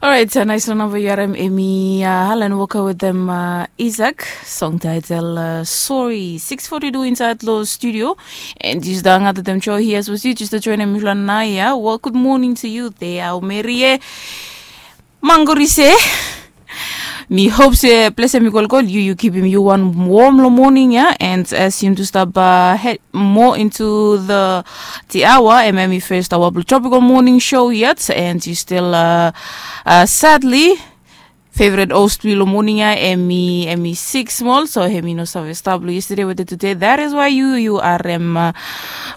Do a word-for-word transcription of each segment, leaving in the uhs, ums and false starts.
Alright, uh, nice long namba yu harim emi uh, Alan Walker with them uh, Isaac song title uh, Sorry. Six forty-two inside lo studio and yu stap hangat with them show here. So you just join him naya. Well, good morning to you there, Merie. Mangorise. Mi hope se ples emi kolkol yu yu kipim yu wan warm lo morning ya and as yum tu stap uh, head more into the the hour em emi first hour blo tropical morning show yet and you still uh, uh, sadly favorite host blo morning ya emi emi six small so emi no save stap lo yesterday with today that is why you you are em uh,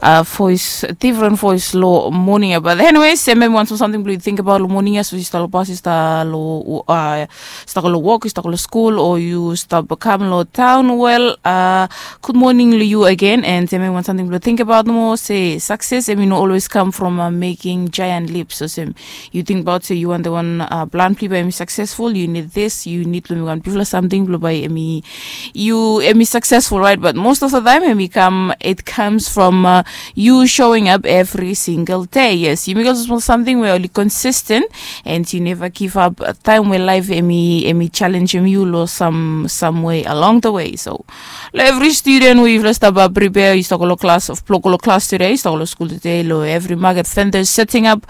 uh, voice different voice lo morning ya but anyways em emi wan small something blo you think about lo morning ya so you start lo bus you start lo uh, start lo work you start lo school or you start come lo town well uh, good morning lo you again and em emi wan something blo think about more say success em you know always come from uh, making giant leaps so same you think about say you want the one uh, plan pli by emi successful you need this you need lo mi wan bifla something blo by emi you emi successful right but most of the time emi come it comes from uh, you showing up every single day yes you make also small something where only consistent and you never give up uh, time where life emi emi challenge emi you lo some some way along the way so lo every student we you first about prepare you start lo class of lo class today you start lo school today lo every market vendors setting up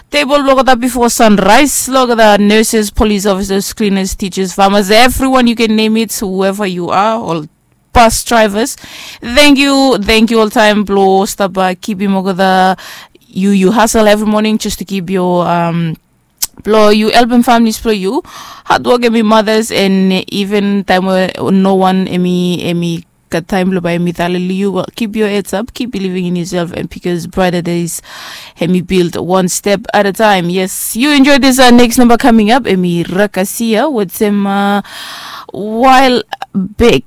table blokada before sunrise lokada nurses police officers cleaners teachers farmers everyone you can name it whoever you are all bus drivers thank you thank you all time blo stop uh, keep him okada you you hustle every morning just to keep your um blo you helping families blo you hard work emi mothers and even time where no one emi emi got time blo by emi talili you well, keep your heads up keep believing in yourself and because brighter days hemi build one step at a time yes you enjoy this uh, next number coming up emi rakasia with some uh, while back